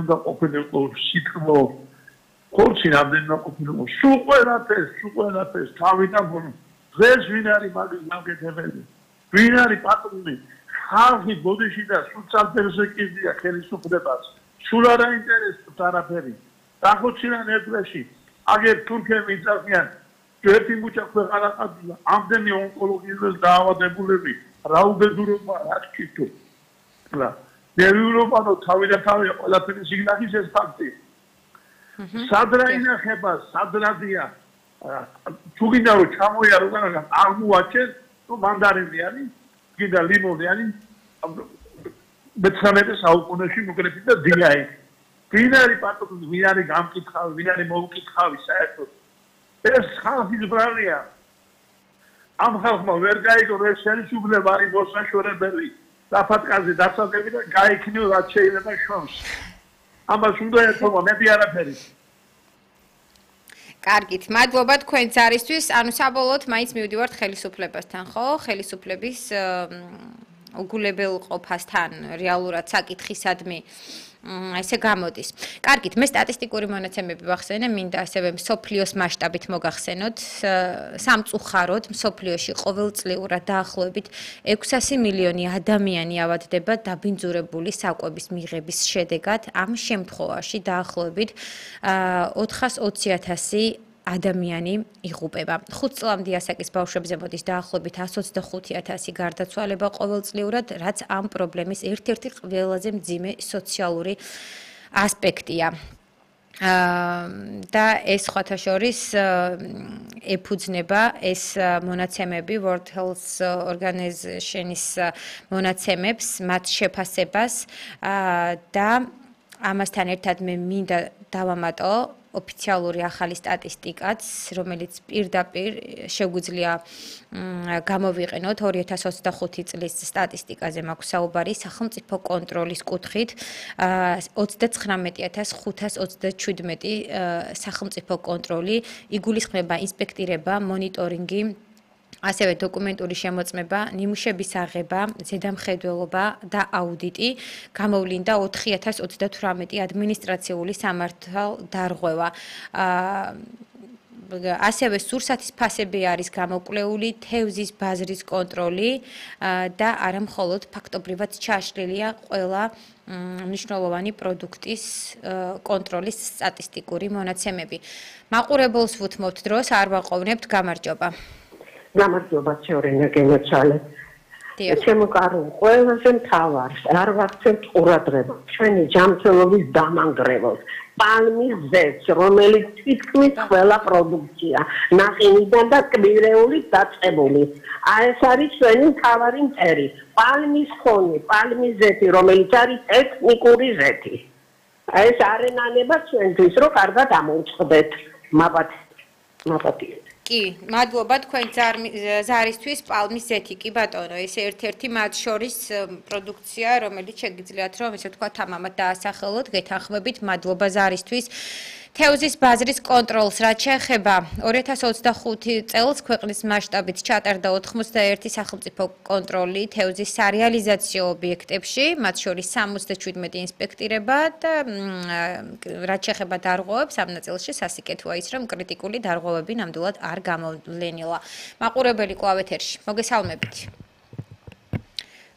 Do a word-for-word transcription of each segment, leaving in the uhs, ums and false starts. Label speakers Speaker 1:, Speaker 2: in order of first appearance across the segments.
Speaker 1: უნდა ყოფილიყო სიტყვა კორჩი რამდენიმე ყოფილიყო სულ ყველაფერს სულ ყველაფერს თავიდან დღეს ვინ არის მაგის გამკეთებელი ვინ არის პატრონი ხალხი ბოდიში და სულ წამფერზე კიდია ხელისუფლებას სულ არ აინტერესებს არაფერი დახოცილან ერთში აგერ თურქები იწახიან ერთი მუჭა ქვეყანა ყავდა ამდენი ონკოლოგიურ დაავადებულები რა უბედურობა რა თქითო რა ნერვიულობანო თავი და თავი ყველაფერი სიგნალის ეს ფაქტი სადრა ინახება სადრადია თუ გინდა რომ ჩამოიარო განაგან აღმოაჩენ თუ მანდარინი არის გინდა ლიმონი არის მეცხრამეტე საუკუნეში მოკრეფი და დილაი ვინ არის პატრონი ვინ არის გამკითხავი ვინ არის მოუკითხავი საერთოდ ეს ხალხის ბრალია ამ ხალხმა ვერ გაიგო რომ ეს ხელისუფლება არის მოსაშორებელი დაფატკაზე დასადები და გაიქნიო რაც შეიძლება შორს ამას უნდა ეთქვა მეტი არაფერი
Speaker 2: კარგით, მადლობა თქვენ ძარისთვის. ანუ საბოლოოდ მაინც მივდივართ ხელისუფლებასთან, ხო? ხელისუფლების უგულებელყოფასთან რეალურად საკითხისადმი ესე გამოდის. კარგით, მე სტატისტიკური მონაცემები ვახსენე, მინდა ასევე მსოფლიოს მასშტაბით მოგახსენოთ, სამწუხაროდ მსოფლიოში ყოველწლიურად დაახლოებით ექვსასი მილიონი ადამიანი ავადდება დაბინძურებული საკვების მიღების შედეგად. ამ შემთხვევაში დაახლოებით ოთხას ოცი ათასი ადამიანი იღუპება. ხუთ წლამდე ასაკის ბავშვებზე მოდის დაახლოებით εκατს ოცდახუთი ათასი გარდაცვალება ყოველწლიურად, რაც ამ პრობლემის ერთ-ერთი ყველაზე მძიმე სოციალური ასპექტია. და ეს სხვათა შორის ეფუძნება ეს მონაცემები World Health Organization-ის მონაცემებს, მათ შეფასებას და ამასთან ერთად მე მინდა დავამატო ოფიციალური ახალი სტატისტიკაც, რომელიც პირდაპირ შეგვიძლია გამოვიყენოთ ორი ათას ოცდახუთი წლის სტატისტიკაზე მაქვს საუბარი სახელმწიფო კონტროლის კუთხით ოცდაცხრამეტი ათას ხუთას ოცდაჩვიდმეტი სახელმწიფო კონტროლი იგულისხმება ინსპექტირება, მონიტორინგი ასევე დოკუმენტური შემოწმება, ნიმუშების აღება, ზედამხედველობა და აუდიტი, გამოვლინდა ოთხი ათას ოცდათვრამეტი ადმინისტრაციული სამართალდარღვევა. ასევე სურსათის ფასები არის გამოკვლეული, თევზის ბაზრის კონტროლი და არა მხოლოდ ფაქტობრივად ჩაშლილია ყველა მნიშვნელოვანი პროდუქტის კონტროლის სტატისტიკური მონაცემები. მაყურებელს ვუთმობთ დროს, არ ვაყოვნებთ, გამარჯობა.
Speaker 3: გამარჯობა ჩევრენა გენოჩალე. შემოკარულ ყველაზე მთავარს არ ვაქცევთ ყურადღებას ჩვენი ჯანმრთელობის დამანგრეველს პალმის ზეთს რომელიც თითქმის ყველა პროდუქცია ნახინიდან და კვირეულით დაწყებული აი ეს არის ჩვენი მთავარი მტერი პალმის ხონი პალმის ზეთი რომელიც არის ტექნიკური ზეთი აი ეს არენანება ჩვენთვის რომ კარგად ამოვწყდეთ მაბათ მაბათიეთ
Speaker 2: კი, მადლობა თქვენ ზარისთვის პალმის ზეთი, კი ბატონო, ეს ერთ-ერთი მათ შორის პროდუქცია, რომელიც შეგიძლიათ რომ ესე ვთქვათ ამამად დაასახელოთ, გეთანხმებით, მადლობა ზარისთვის. თევზის ბაზრის კონტროლს რაც შეეხება ორი ათას ოცდახუთი წელს ქვეყნის მასშტაბით ჩატარდა ოთხმოცდაერთი სახელმწიფო კონტროლი თევზის სარეალიზაციო ობიექტებში, მათ შორის სამოცდაჩვიდმეტი ინსპექტირება და რაც შეეხება დარღვევებს ამ ნაწილში სასიკეთოა ის, რომ კრიტიკული დარღვევები ნამდვილად არ გამოვლენილა. მაყურებელი კვლავ ეთერში. მოგესალმებით.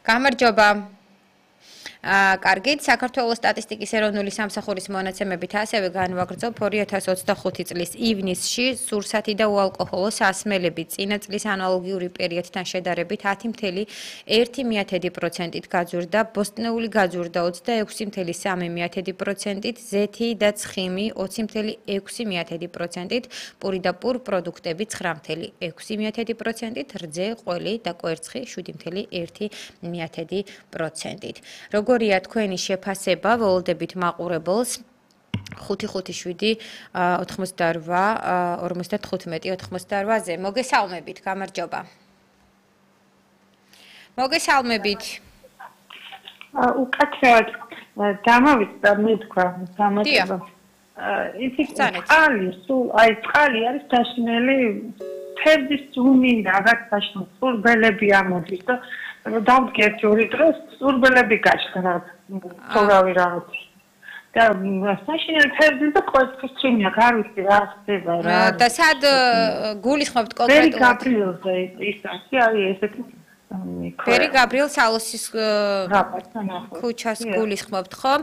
Speaker 2: გამარჯობა. კარგით, საქართველოს სტატისტიკის ეროვნული სამსახურის მონაცემებით ასევე განვაგრძობ ორი ათას ოცდახუთი წლის ივნისში სურსათი და უალკოჰოლო სასმელები წინა წლის ანალოგიური პერიოდთან შედარებით ათი მცდე ერთი პროცენტით გაძვირდა, ბოსტნეული გაძვირდა ოცდაექვსი მცდე სამი პროცენტით, ზეთი და ცხიმი ოცი მცდე ექვსი პროცენტით, პური და პურ პროდუქტები ცხრა მცდე ექვსი პროცენტით, რძე, ყველი და კვერცხი შვიდი მცდე ერთი პროცენტით. როგორია თქვენი შეფასება, ველოდებით მაყურებელს ხუთი ხუთი შვიდი ოთხმოცდარვა ორმოცდათხუთმეტი ოთხმოცდარვაზე. მოგესალმებით, გამარჯობა. მოგესალმებით.
Speaker 4: უკაცრავად დამავიწყდა მე თქვა, გამარჯობა. იცით, წყალი, სულ აი წყალი არის დაშინელი თევზის ძუნი რაღაც დაშინელი, სურბელები ამოდის და დავდგეთ ორი დროს სურბელები გაჩნდა, თორავი რაღაც. და საშინელი თევზი და კვერცხის ჩინია, არ ვიცი რა ხდება რა.
Speaker 2: და სად გულისხმობთ კონკრეტულად?
Speaker 4: ბერი გაბრიელზე ის არის, არის ესეთი
Speaker 2: ბერი გაბრიელ სალოსის ქუჩას გულისხმობთ, ხო?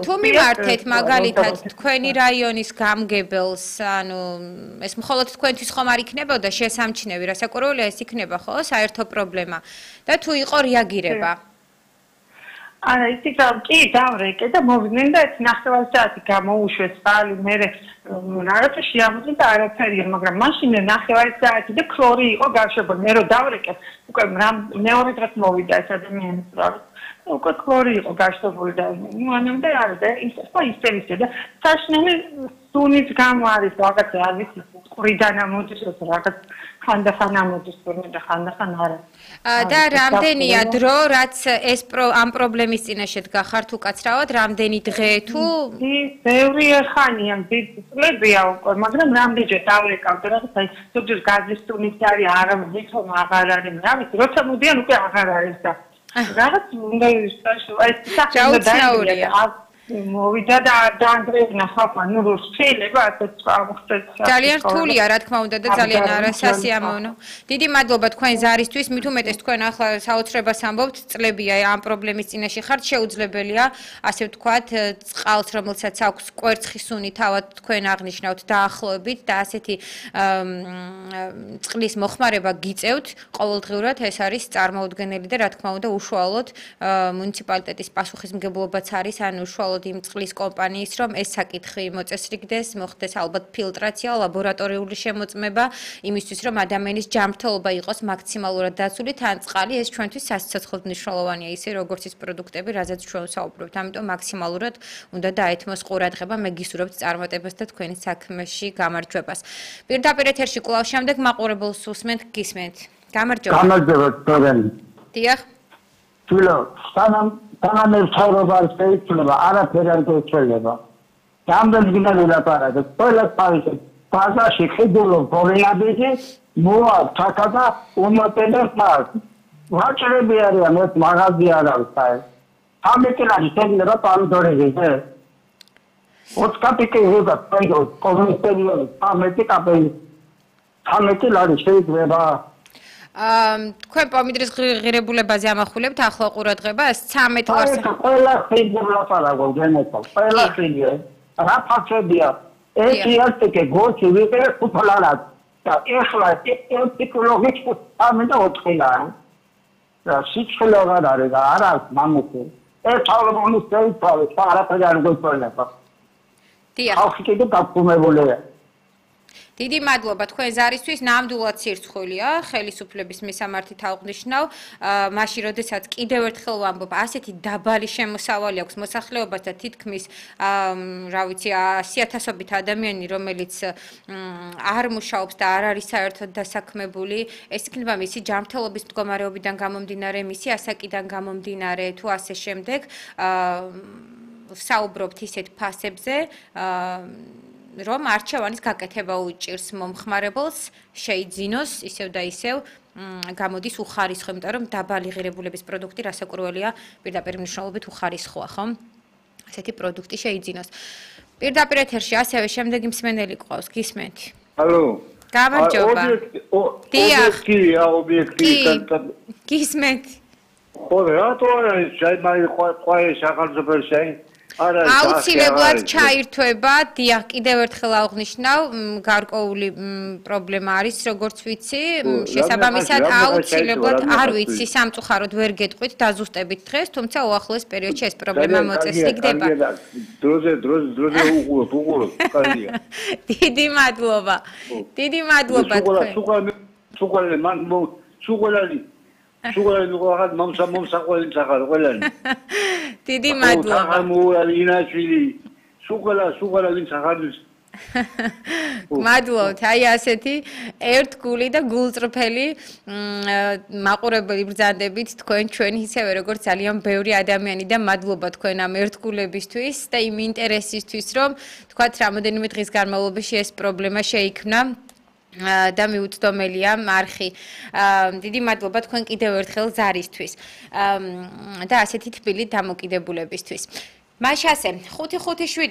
Speaker 2: თუ მიმართეთ მაგალითად თქვენი რაიონის გამგებელს, ანუ ეს მხოლოდ თქვენთვის ხომ არ იქნებოდა შესამჩნევი, რასაკვირველია ეს იქნება, ხო, საერთო პრობლემა და თუ იყო რეაგირება?
Speaker 4: არა, ისი კი დავრეკე და მოვიდნენ და ეს ნახევარი საათი გამოუშვეს წყალი, მე რაღაცა შეამოწმე და არაფერია, მაგრამ მაშინ ნახევარი საათი და ქლორი იყო გაშვებული. მე რო დავრეკე, უკვე მეორე დღეს მოვიდა ეს ადამიანი სწორად. უკვე ქლორი იყო გაშვებული და მანამდე არა და ის ხო ისევ და საშინელი სუნით გამო არის რაღაცა არ ვიცი, ყრიდან ამოდის რაღაც ხანდახან ამოდის და ხანდახან არა.
Speaker 2: და რამდენია დრო, რაც ეს ამ პრობლემის წინაშე გახართ უკაცრავად, რამდენი დღე თუ
Speaker 4: ბევრი ხანია, წლებია უკვე, მაგრამ რამდენჯერ დავრეკავდა რაღაც აი ზოგჯერ გაზის სუნით არის, არა ვითომ აღარ არის, რა ვიცი, როცა მოდიან უკვე აღარ არის და რაღაც უნდა ის აი
Speaker 2: საერთოდ
Speaker 4: მოვიდა და დაანგრევნა ხალხმა, ნუ შეიძლება ასეც აღმოხდეს.
Speaker 2: ძალიან რთულია, რა თქმა უნდა და ძალიან არასასიამოვნო. დიდი მადლობა თქვენ ზარისთვის, მით უმეტეს თქვენ ახლა საოცრებას ამბობთ, წლებია ამ პრობლემის წინაშე ხართ, შეუძლებელია, ასე ვთქვათ, წყალს, რომელსაც აქვს კვერცხის სუნი, თავად თქვენ აღნიშნავთ დაახლოებით და ასეთი წყლის მოხმარება გიწევთ, ყოველდღიურად ეს არის წარმოუდგენელი და რა თქმა უნდა უშუალოდ მუნიციპალიტეტის პასუხისმგებლობაც არის, ან უშუალოდ იმ წყლის კომპანიის, რომ ეს საკითხი მოწესრიგდეს, მოხდეს ალბათ ფილტრაცია, ლაბორატორიული შემოწმება, იმისთვის, რომ ადამიანის ჯანმრთელობა იყოს მაქსიმალურად დაცული, თან წყალი ეს ჩვენთვის სასიცოცხლოდ მნიშვნელოვანია, ისე როგორც ის პროდუქტები, რაზეც ჩვენ ვსაუბრობთ. ამიტომ მაქსიმალურად უნდა დაეთმოს ყურადღება, მე გისურვებთ წარმატებას და თქვენი საქმეში გამარჯვებას. პირდაპირ ეთერში კვლავ შემდეგ მაყურებელს უსმენთ, გისმენთ. გამარჯობა.
Speaker 5: გამარჯობა, თქვენი.
Speaker 2: დიახ.
Speaker 5: თვილო, სანამ სანამ ერთობა არ შეიძლება, არაფერი არ შეიძლება. რამდენი გინდა ვილაპარაკო, ყველა თავისი ბაზაში ხედულო პრობლემები მოა თაკადა უმოტენებს მას. ვაჭრები არიან, ეს მაღაზია არ არის აი. ამიტომაც შეიძლება პანდორეზე. ოთხკაპიკი ზოგად პაიდო კომუნისტებია, ამეტი კაპელი. ამეტი ლარი შეიძლება
Speaker 2: აა თქვენ პომიდრის ღირებულებაზე ამახვილებთ ახლა ყურადღებას ცამეტ ლარს
Speaker 5: ყველა ხიდურა პარაგო გენეტო ყველა ხიდია რა ფაქებია ეს იასტიკე გოჩი ვიყე ხუთლარად და ეხლა ტიპოლოგიჩ ამენდა ოთხილა და სიჩხილოგად არის და არა მამუკი ეს ალბომის წელიწადი არაფერი არ გქონდა
Speaker 2: დიახ
Speaker 5: ახლა კიდე დაკუმებულია
Speaker 2: დიდი მადლობა თქვენ ზარისთვის, ნამდვილად სირცხვილია, ხელისუფლების მისამართით აღნიშნავ, მაშინ როდესაც კიდევ ერთხელ ვამბობ, ასეთი დაბალი შემოსავალი აქვს მოსახლეობას და თითქმის, რა ვიცი, ასიათასობით ადამიანი, რომელიც არ მუშაობს და არ არის საერთოდ დასაქმებული, ეს იქნება მისი ჯანმრთელობის მდგომარეობიდან გამომდინარე, მისი ასაკიდან გამომდინარე, თუ ასე შემდეგ, ვსაუბრობთ ისეთ ფასებზე, რომ არჩევანის გაკეთება უჭირს მომხმარებელს შეიძინოს ისევ და ისევ გამოდის უხარისხო, იმიტომ რომ დაბალი ღირებულების პროდუქტი რასაკვირველია პირდაპირ მნიშვნელობით უხარისხოა, ხო? ასეთი პროდუქტი შეიძინოს. პირდაპირ ეთერში ასევე შემდეგი მსმენელი ყავს, გისმენთ?
Speaker 6: ალო.
Speaker 2: გამარჯობა.
Speaker 6: ობიექტია, ობიექტია.
Speaker 2: გისმენთ?
Speaker 6: ხო, რატო არა ის შეიძლება ყვა ეს აღარზობელში
Speaker 2: აუცილებლად ჩაირთვება, დიახ, კიდევ ერთხელ აღნიშნავ, გარკვეული პრობლემა არის, როგორც ვიცი, შესაბამისად აუცილებლად არ ვიცი, სამწუხაროდ ვერ გეტყვით, დაზუსტებით დღეს, თუმცა უახლოეს პერიოდში ეს პრობლემა მოწესრიგდება.
Speaker 6: დროზე, დროზე, დროზე უყუროთ, უყუროთ, კარგია.
Speaker 2: დიდი მადლობა. დიდი მადლობა თქვენ.
Speaker 6: სუყალე, სუყალე, მან სუყალე სუყალე ვიღაც მომსა მომსაყველი სახარ ყველანი.
Speaker 2: დიდი მადლობა.
Speaker 6: აღმოალი ინაჩვილი. სუყალა, სუყალა ვინ სახარდის.
Speaker 2: მადლობთ. აი ასეთი ერთგული და გულწრფელი მაყურებელი ბრძანდებით თქვენ ჩვენ ისევე როგორც ძალიან ბევრი ადამიანი და მადლობა თქვენ ამ ერთგულებისთვის და იმ ინტერესისთვის, რომ თქვათ რამოდენიმე დღის განმავლობაში ეს პრობლემა შეიქმნა. და მიუწვდომელია მარხი. დიდი მადლობა თქვენ კიდევ ერთხელ ზარისთვის და ასეთი თბილი დამოკიდებულებისთვის. მაშასე ხუთი ხუთი შვიდი